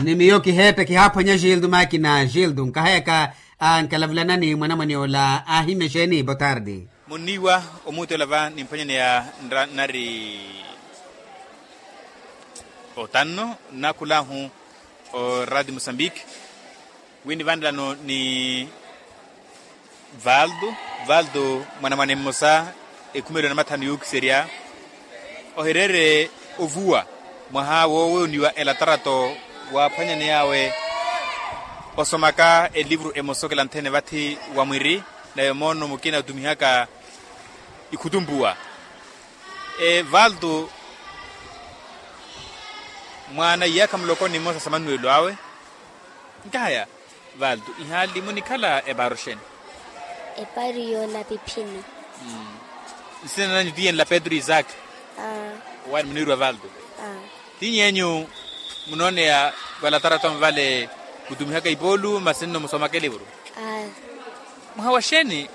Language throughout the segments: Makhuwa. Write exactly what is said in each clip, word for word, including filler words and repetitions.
Ni miyo kiheepe kihaaphwanya gildo makina gildo nkahayaka. Ankalavulanani mwanamwane ola aahimya exeeni botardi. Munniiwa omuuteela va nimphwanyaneya nari otanno nnakhulahu oradi musambiki. Wi nivanelano ni valdo valdo mwanamwane mmosa ekhumelo na mathanu yuukiserya ohireere ovuwa mwaha woowooniwa elatarato waaphwanyaney'awe osomaka elivuru emosa okela nthene vathi wa mwiri nayo moono mukina otumihaka ikhutumpuwa. Valdo mwaana iyaakha muloko ni mmosa sa manuwelo awe. Nkahaya valdo ihaali munikhala epaaro xeeni? Epaaro yoonapiphini. Nsina nanyu tiyenla petro isaaki? Owaani muniirwa valdo. Tiny'enyu munooneya valatarato vale mutumihaka ipoolu masi nno musomaka elivuru? Mwaha wa xeeni?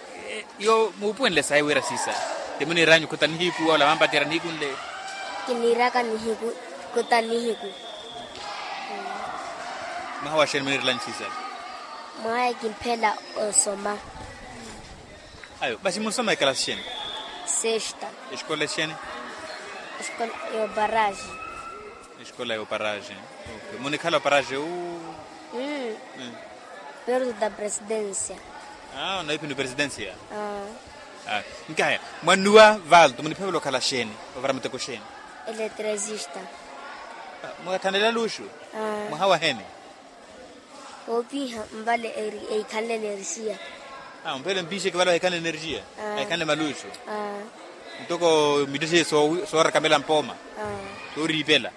Yo muupuwenle sayi wira siisa ti muniiranyu khuta nihiku ola vampattira nihiku nle? Kiniiraka nihiku khuta nihiku. Mwaha wa xeeni muniirelanyu siisa? Mwaha ekimphela osoma. Ayo masi munsoma ekalasi xeeni? Sexta. Exikola exeeni? Exikola yoparaaxi. Exikola yoparaaxi. Munikhala oparaaxi uu? Perto da presidencia. Onaiphini opresidencia. Nkahaya mwannuwa valdo muniphevela okhala xeeni ovara muteko xeeni? Eletresista. Mwathanela luxu? Mwaha waheni? Woopiha nvale eikhanle energia. Mphele mpixeke vale wahikhanle energia? Ahikhanle maluxu. Ntoko mittexe soorakamela mpooma. Sooriipela.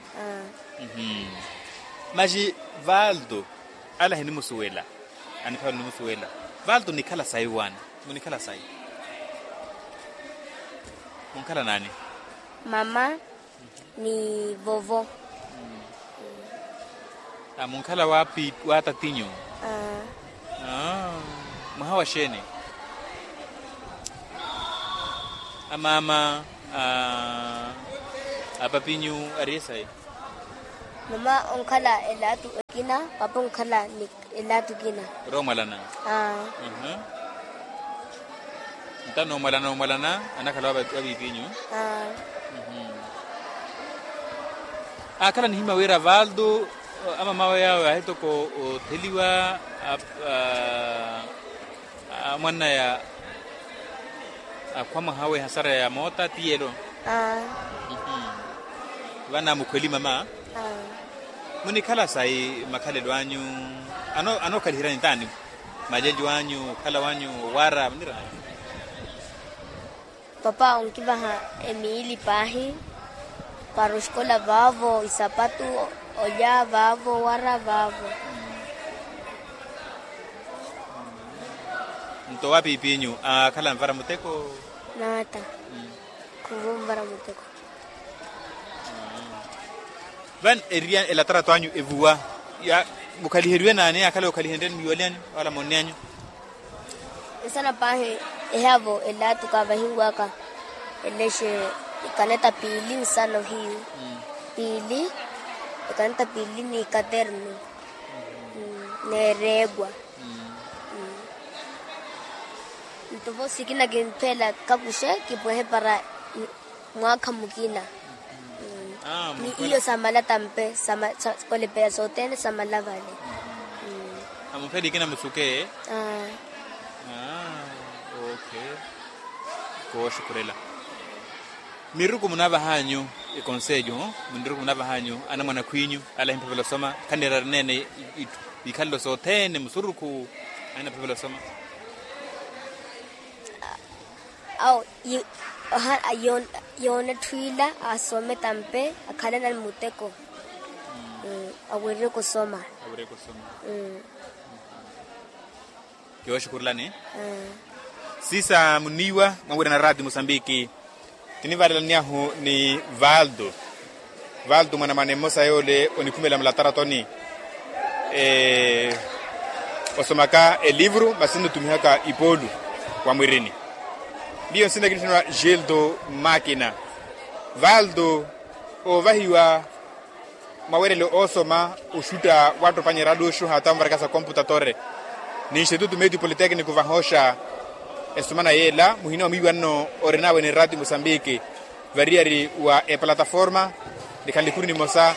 Masi valdo ale ahinimusuwela. Aniphavela onimusuwela. Valdo onikhala sayi waana? Munikhala sayi? Munkhala naani? Mama ni vovo. Munkhala wa tatinyu? Mwaha wa xeeni? Amaama a papinyu ari esayi? Mama onkhala elaatu ekina papa onkhala ni elaatu kina. Ori omwalana? Nta noomwalana omwalana anakhala wa piipinyu. Aakhala nihimya wira valdo amamawe awe aahitoko otheliwa amwannaya akhwa mwaha awe ehasara ya moota ti yelo. Vana mukhweli mama? Munikhala sayi makhalelo anyu? Anookhalihirani taani? Malelyo anyu okhala wanyu owara munirani? Papa onkivaha emiili paahi para oxikola vaavo isapatu olya vaavo owara vaavo. Nto wa piipinyu aakhala anvara muteko? Naata. Khuvo onvara muteko. Vani eriya elatarato anyu evuwa mukhaliheriwe naani aakhala ookhalihenryani mwiiwalyani wala moonne anyu? Nsana paahi ehaavo elaatu kaavahiwaka elexe ekaneta piili nsano hiyu piili ekaneta piili ni katernu. Neereewa. Nto vo sikina kimphela kakuxe kipwehe para mwaakha mukina. Ni iyo samala tampe kolepela sothene samala vale. Amupheliki namusuke. Aa. Aa. Ok. Kooxukhurela. Miruku munavahanyu ekonselho? Miruku munavahanyu anamwana akhwinyu ale ahimphavela osoma khanirari nene? Itthu ikhalelo sothene musurukhu ahinaphavela osoma. Awo yoona etthu ila asome tampe akhalana ni muteko. Awerereke osoma. Awerereke osoma. Kiyooxukhurelani. Sisa muniiwa mwawirana raati musambiki. Tinivalelaniyahu ni valdo. Valdo mwanamwane mmosa yoole onikhumela mlataratoni osomaka elivuru masi nnutumihaka ipoolu wa mwirini. Miyo nsina kinitthaniwa gildo makina. Valdo oovahiwa Mawerelo oosoma oxutta wattopanyerya aluxu hata onvaraka sa komputator ni institutu medio politekniku vahooxa. Esumana yeela muhina wa mwiiwanno orinawe ni rati musambiki variyari wa epalataforma. Nikhana likuru nimosa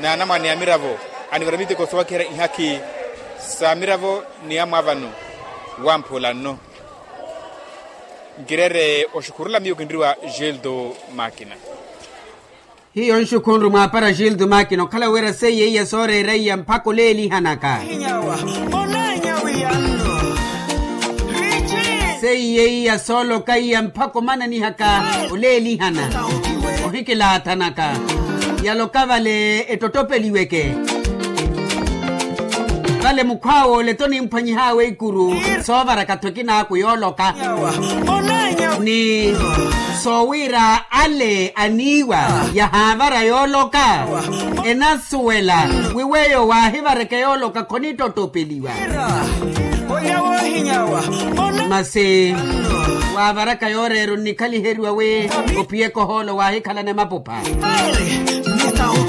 na anamwane a miravo anivaramitteko soowakiherya ihakhi sa miravo ni amwaavano wamphula nno. Nkireere oxukhurula miyo kinriwa gildo makina. Hiyo nxukhunru mwaapara gildo makina okhala wira seiye iya sooreera iya mpakha oleelihanaka. Seiye iya sooloka iya mpakha omananihaka oleelihana ohikilaathanaka. Yaloka vale ettottopeliweke vale mukhwaawe ole tonimphwanyihaawe ikuru soovaraka tho ekinaaku yooloka ni soowiira ale aniiwa yahaavara yooloka enasuwela wi weyo waahivareke yooloka khonittottopeliwa. Masi waavaraka yooreera onnikhaliheryiwa wi ophiyeke ohoolo waahikhalana emapupha.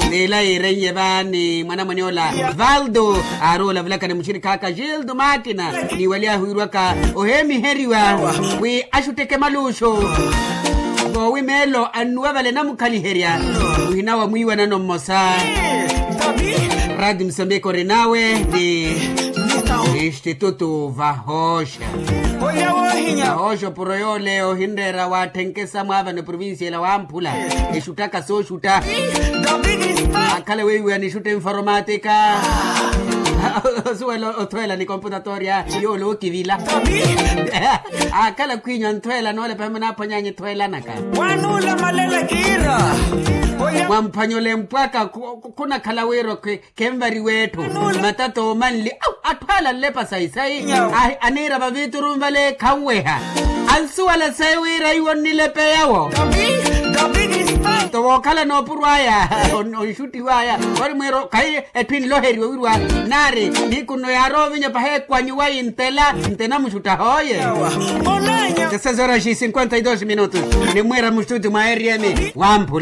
N'ila yiireiye vaani mwanamwane ola valdo aari olavulaka ni muxirikhi aka gildo makina ni wali ahiwirwaka oheemiheriwa wi axutteke maluxu. Voowi meelo annuwa vale namukhaliherya muhina wa mwiiwanano mmosa. Radi musambiki orinawe ni institutu vahooxa. Vahooxa opuro yoole ohinreera waatthenke samwaavano eprovincia ela wamphula exuttaka sooxutta. Akhala weiwiwa nixutta informatika osuwela othweela ni komputatori yoole okivila. Akhala khwiinyu anthweela noole pahimwe naaphwanyanyu ethweelanaka. Mwamphanyola empwaka khunakhala wira khwe khenvariwa etthu matata oomanli atthu ala nlepa sayi-sayi. Aniira vaviiturunvale khanweha ansuwala sayi wira iwo nnilepeyawo. Nto wookhala noopurwaya onxuttiwaya ori mwiiro khayi etthu enloheriwa wirwa naari nihiku nno yaarowa ovinya paha ekwanyiwa intela nte namuxutta hooye. Sesezora xi cinquenta y dos minutos nimwiira muxutti mwa eriemi wamphula.